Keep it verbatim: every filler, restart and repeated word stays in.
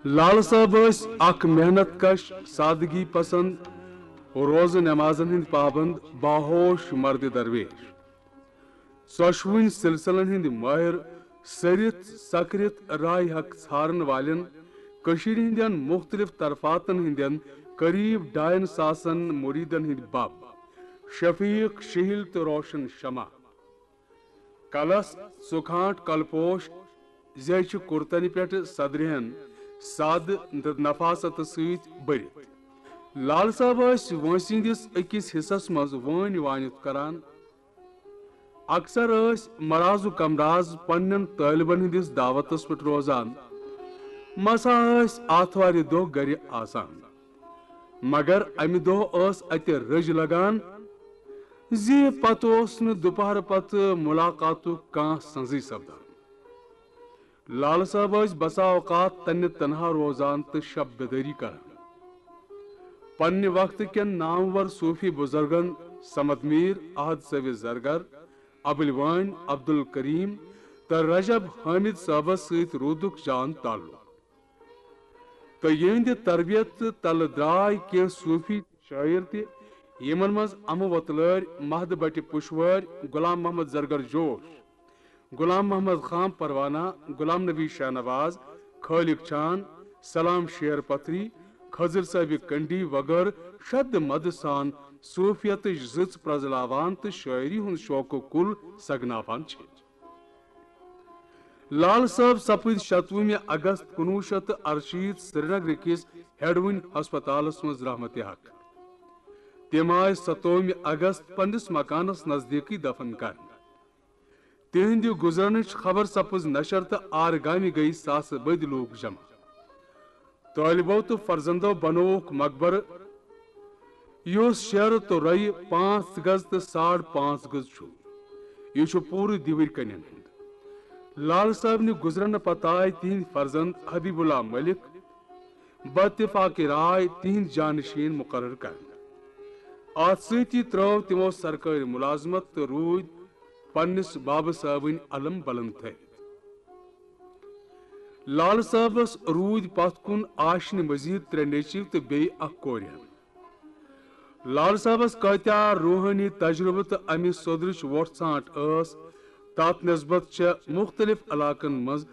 لال صٲب ٲسۍ اکھ محنت کش، سادگی پسند، روزٕ نمازن ہٕنٛدۍ پابند، باہوش مرد درویش۔ ژۄشوٕنۍ سلسلن ہٕنٛدۍ مٲہر، سٔرِتھ سکرِتھ راے حق ژھارن والٮ۪ن، کٔشیٖرِ ہٕنٛدٮ۪ن مُختلف طرفاتن ہٕنٛدٮ۪ن قریب ڈاین ساسن مُریدن ہٕنٛدۍ بب، شفیق، شہیل تہٕ روشن شمع۔ کلس ژُکھانٹ کلپوش، زیچھِ کرتنہِ پٮ۪ٹھ صدرِہن سادٕ تہٕ نفاست سۭتۍ بٔرِتھ۔ لال صٲب ٲسۍ وٲنٛسہِ ہٕنٛدِس أکِس حصس منٛز وٲنۍ وانِتھ کران۔ اکثر ٲسۍ مرازُک کمراز پننٮ۪ن طٲلبن ہٕنٛدِس دعوتس پٮ۪ٹھ روزان۔ مسا ٲسۍ آتھوارِ دۄہ گرِ آسان۔ مگر امہِ دۄہ ٲس اتہِ رٔج لگان زِ پتہٕ اوس نہٕ دُپہرٕ پتہٕ مُلاقاتُک کانٛہہ سنزٕے سپدان۔ لالہٕ صٲب ٲسۍ بسا اوقات تنہِ تنہا روزان تہٕ شب بیدٲری کران۔ پننہِ وقتہٕ کٮ۪ن نامور صوفی بزرگن صمد میر، احد صٲبِ زرگر، ابٕلۍ وٲنۍ عبدالکریم تہٕ رجب حامد صٲبس سۭتۍ روٗدُکھ جان تعلق۔ تہٕ یِہنٛدِ تربیت تلہٕ درٛاے کینٛہہ صوفی شٲعر تہِ، یِمن منٛز امہٕ وۄتلٲرۍ، محد بٹہِ پُشوٲرۍ، غلام محمد زرگر جوش، غلام محمد خان پروانہ، غلام نبی شاہ نواز، خالق چان، سلام شیر پتھری، خضر صٲبِ کنڈی وغٲرٕ شد مد سان صوفیتٕچ زٕژ پرزلاوان تہٕ شٲعری ہُنٛد شوقہٕ کُل سگناوان چھِ۔ لال صٲب سپٕدۍ شتوُہمہِ اگست کُنوُہ شیٚتھ تہٕ ارشیٖتھ سرینگرٕ کِس ہیڈوٕنۍ ہسپتالس منٛز رحمتِ حق۔ تِم آیہِ ستووُہمہِ اگست پننِس مکانس نزدیٖکٕے دفن کرنہٕ۔ تِہنٛدِ گُزرنٕچ خبر سپٕز نشر تہٕ آرٕ گامہِ گٔیہِ ساسہٕ بٔدۍ لوٗکھ جمع۔ طٲلبو تہٕ فرزندو بنووُکھ مقبرٕ، یُس شیرٕ تہٕ رۄیہِ پانٛژھ گز تہٕ ساڑ پانٛژھ گز چھُ۔ یہِ چھُ پوٗرٕ دیوٕرۍ کنٮ۪ن ہُنٛد۔ لال صٲبنہِ گُزرنہٕ پتہٕ آے تِہنٛدۍ فرزند حبیب اللہ ملک باتفاق راے تِہنٛدۍ جانشین مقرر کرنہٕ۔ اتھ سۭتی ترٲو تِمو سرکٲرۍ ملازمت تہٕ روٗدۍ پننِس بابہٕ صٲبٕنۍ علم بلند تھٲوِتھ۔ لال صٲبس روٗدۍ پتھ کُن آشنہِ مزید ترٛےٚ نیٚچِو تہٕ بیٚیہِ اکھ کورِ ہن۔ لال صٲبس کٲتیٛاہ روحٲنی تجربہٕ تہٕ امہِ سوٚدرٕچ وۄٹھ ژھانٛٹ ٲس، تتھ نسبت چھےٚ مُختلف علاقن منٛز